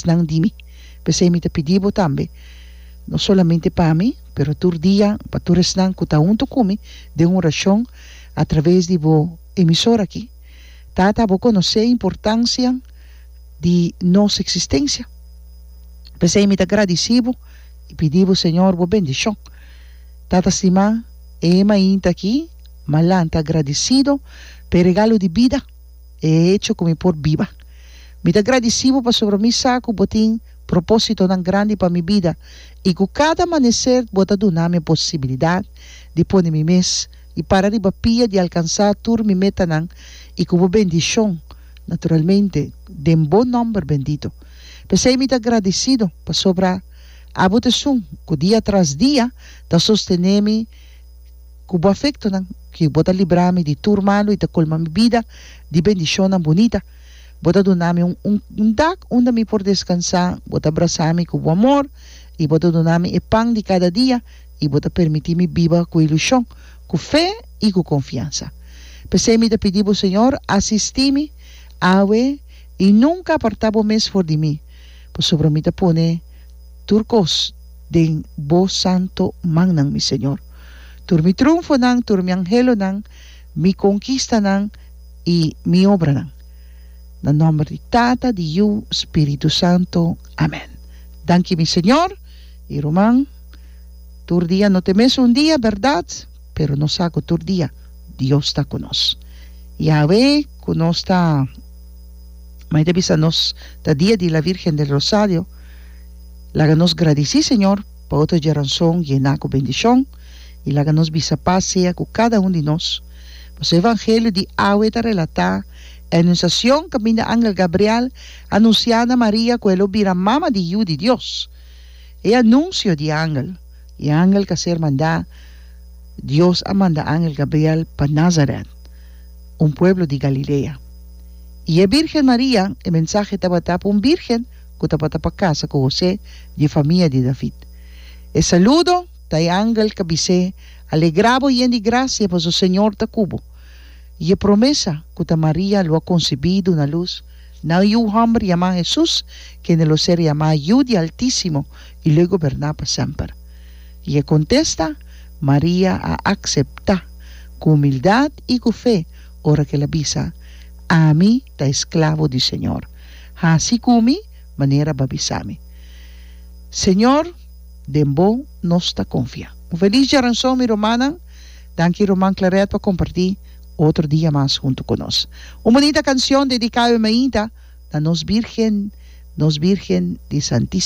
esnan di mi. P'esei mi ta pidi bo tambe, no solamente pa mi, pero tur dia pa tur esnan ku ta huntu ku mi den orashon atraves di bo emisora aki. Tata, bo konosé e importansia di nos eksistensia. P'esei mi ta gradisí bo i pidi bo, Señor, bo bendishon. Tata stimá, e mainta aki m'a lanta gradisido pa e regalo di bida, e hecho ku mi por biba. Mi ta gradisí bo pasobra mi sa ku bo tin propósitonan grandi pa mi bida i ku kada amaneser bo ta duna mi e posibilidat di pone mi mes i para riba pia di alkansá tur mi metanan i ku bo bendishon, naturalmente, den bo nòmber bendito. P'esei mi ta gradisido pasobra abo ta esun ku dia tras dia ta sostené mi ku bo afektonan, ku bo ta libra mi di tur malu i ta kolma mi bida di bendishonnan bunita. Bo ta duna mi un un dak unda mi por deskansá, bo ta brasá mi ku bo amor i bo ta duna mi e pan di kada dia i bo ta permití mi biba ku ilushon, ku fe i ku konfiansa. P'esei mi ta pidi bo, Señor, asistí mi awe i nunka apartá bo mes for di mi, pasobra mi ta pone tur kos den bo santo mannan, mi Señor. Tur mi triunfonan, tur mi anhelonan, mi konkistanan i mi obranan. Na nòmber di Tata, di Yu, Spiritu Santo. Amèn. Danki mi Señor i ruman. Tur dia no ta e mesun dia, bèrdat? Pero nos sa ku tur dia Dios ta ku nos. Yahweh ku nos ta, mai ta bisa nos ta dia di la Virgen del Rosario, laga nos gradisí Señor pa otro djaranson yená ku bendishon i laga nos bisa pas sea ku kada un di nos. Pasobra e Evangelio di awe ta relatá e anunsiashon kaminda angel Gabriel a anunsiá na Maria ku e lo bira mama di Yu di Dios. E anunsio di angel. E angel ka ser mandá, Dios a manda angel Gabriel pa Nazaret, un pueblo di Galilea. I e Bírgen Maria, e mensahe tabata pa un bírgen ku tabata pa kasa ku Hosé di e famia di David. E saludo ta e angel ka bis'é, Alegrá bo yen di grasia, pasobra Señor ta ku bo. I e promesa ku ta Maria lo a konsebí duna lus na un yu hòmber yamá Hesus, kende lo ser yamá Yu di Altísimo i lo e goberná pa semper. I e kontesta, Maria a akseptá ku humildat i ku fe ora ku el a bisa, Ami ta esklabo di Señor. Hasi ku mi manera bo a bisa mi. Señor, den bo nos ta konfia. Un felis djaranson mi rumannan. Danki ruman Claret pa kompartí otro dia mas huntu ku nos. Un bunita kansion dediká awe mainta na nos Birgen, nos Birgen di Santísimo.